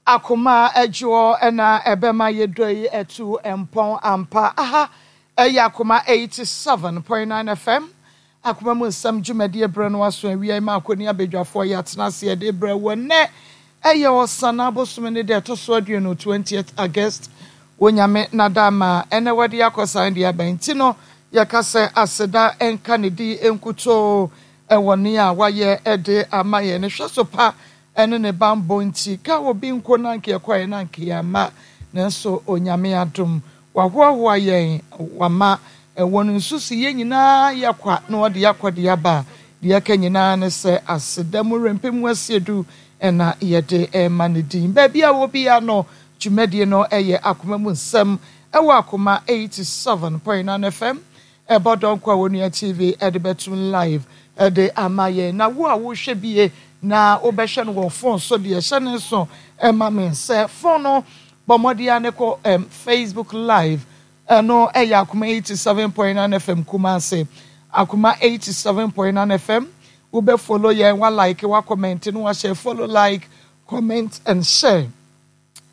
Akoma adwoɔ na ɛbɛma yɛ dɔ yi atu mpɔn ampa. Aha ɛyɛ Akoma 87.9 FM, Akoma mu nsɛm dwumadie berɛ no aso awia yi ma akɔni abadwafoɔ yɛatena ase yɛde rebrɛ wo ɛnnɛ ɛyɛ Ɔsana bosome ne da ɛtɔ so aduonu 20th August Onyame nada ma ɛnɛ wɔde akɔ san de aba nti no yɛka sɛ aseda nka ne din nkutoo ɛwɔ nea wayɛ de ama yɛn ne hwɛ so pa ɛne ne banbɔ nti ka obi nko na anka yɛkɔeɛ na anka yɛamma nanso Onyame adom wahoahoa yɛn wama ɛwɔ no nso si yɛn nyinaa yɛ kwa na ɔde akɔ de aba deɛ ɛka nyinaa ne sɛ aseda mu rempem mu asiedu ɛna yɛde ɛma ne din baabi a wɔ biara no dwumadie no ɛyɛ Akoma mu Nsɛm ɛwɔ Akoma 87.9 FM ɛbɔ dɔnko a wɔnua TV ɛde bɛtum live ɛde ama yɛn na wo a wohwɛ bie na wobɛhwɛ no wɔ phone so deɛ hyɛ ne nso ɛma me sɛ phone no bɔ mmɔden a ne kɔ Facebook live ɛno ɛyɛ Akoma 87.9 FM Kumase, Akoma 87.9 FM. Wobɛ follow yɛn, wa like, wa comment no, wa share. Follow, like, comment and share.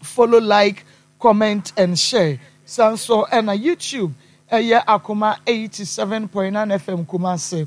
Follow, like, comment and share. San so ɛna YouTube ɛyɛ Akoma 87.9 FM Kumase,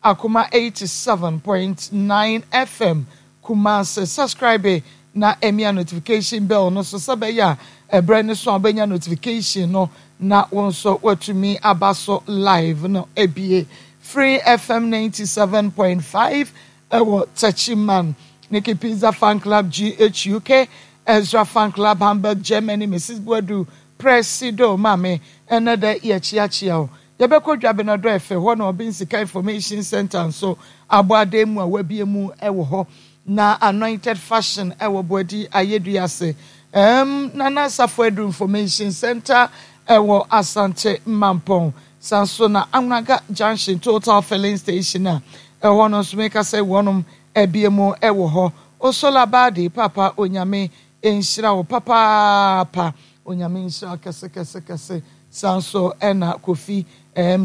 Akoma 87.9 FM Kumase. Subscribe na emia notification bell no so sɛ bɛyɛ a ɛbrɛ ne so a wobɛnya notification no na wo nso watumi aba so live no ebie. Free FM 97.5 ɛwɔ Techiman, Nikki Pizza Fan Club GHUK, Ezra Fan Club Hamburg, Germany, Mrs Buadu Presido maame ɛnɛ dɛ yɛkyeakyea o. Yɛbɛkɔ Dwabenadɔ ɛfɛ hɔ na ɔbɛn Sika Information Center nso abɔ adan mu a wabie mu ɛwɔ hɔ na Anointed Fashion ɛwɔ Boadi Ayɛdua ase, Nana Asafo Edu Information Center ɛwɔ Asante Mampɔn san so na Anwunaga Junction Total Filling Station a ɛhɔ no nso meka sɛ wɔnom abie mu ɛwɔ hɔ. Osola Baadi papa, Onyame nhyira wo papaapa, Onyame nhyira wo kɛse kɛse kɛse. San so ɛna Kofi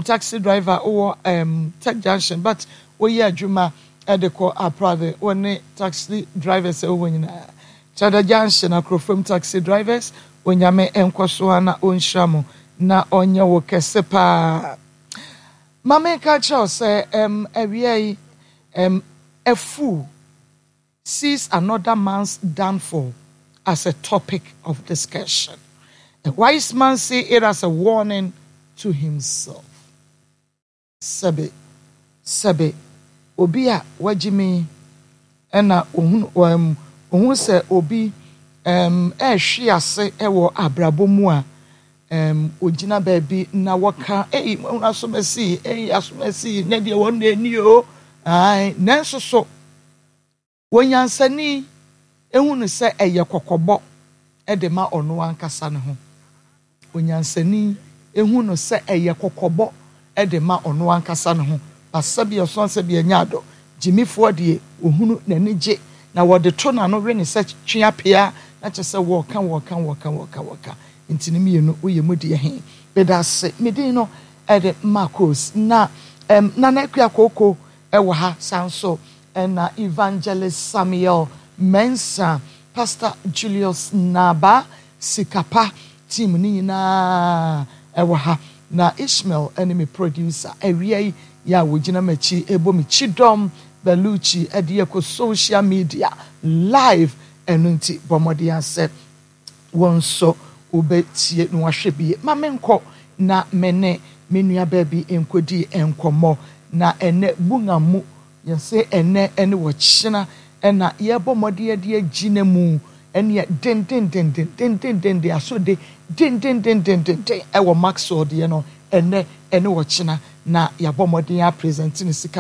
taxi driver wɔ Tech Junction but woyɛ adwuma ɛde kɔ Aprade, wo ne taxi drivers ɛwɔ nyinaa Kyada Junction Akorofam taxi drivers, Onyame nkɔ so a na ɔnhyira mo na ɔnyɛ wo kɛse paa. Maame nka kyerɛ wo sɛ awia yi a fool sees another man's downfall as a topic of discussion. A wise man see it as a warning to himself. Sɛbe, sɛbe, obi a wagye mi ɛna ohun ohun sɛ obi ɛrehwe ase ɛwɔ abrabɔ mu a ogyina baabi na wɔka, "Ei, wɔn asomasi, ei, asomasi, ne deɛ wɔn na ani o." Ae, nanso so wɔnyansani ehu no sɛ ɛyɛ kɔkɔbɔ ɛde ma ɔno ankasa ne ho. Onyansani ehu no sɛ ɛyɛ kɔkɔbɔ ɛde ma ɔno ankasa ne ho. Basabi ɔsɔn sɛ bi anya adɔ gyimifoɔ deɛ ohunu n'ani gye na wɔde to n'ano we ne sɛ twe apea na kyerɛ sɛ wɔɔka wɔɔka wɔɔka wɔɔka wɔɔka nti ne mmienu woyɛ mu deɛ he bɛda ase. Me din no ɛde Marcos na Nana Akua Kooko ɛwɔ ha san so ɛna Evangelist Samuel Mensa, Pastor Julius Naba Sikapa team ne nyinaa ɛwɔ ha na Ishmael ɛne me producer awia yi yɛ a wɔgyina m'akyi ɛbɔ me kyidɔm Baluchi ɛde yɛkɔ social media live. Ɛno nti bɔ mmɔden asɛ wɔn nso wobɛtie na wahwɛ bie. Ma menkɔ na me ne me nua baabi nkɔdi nkɔmmɔ na ɛnɛ bunga mu yɛsɛ ɛnɛ ɛne wɔkyena ɛna yɛbɔ mmɔden yɛde agyina mu ɛneɛ dendendendendendenden aso de dendendendendenden ɛwɔ Maxwell deɛ no ɛnɛ ɛne wɔkyena na yɛabɔ mmɔden a present ne sika.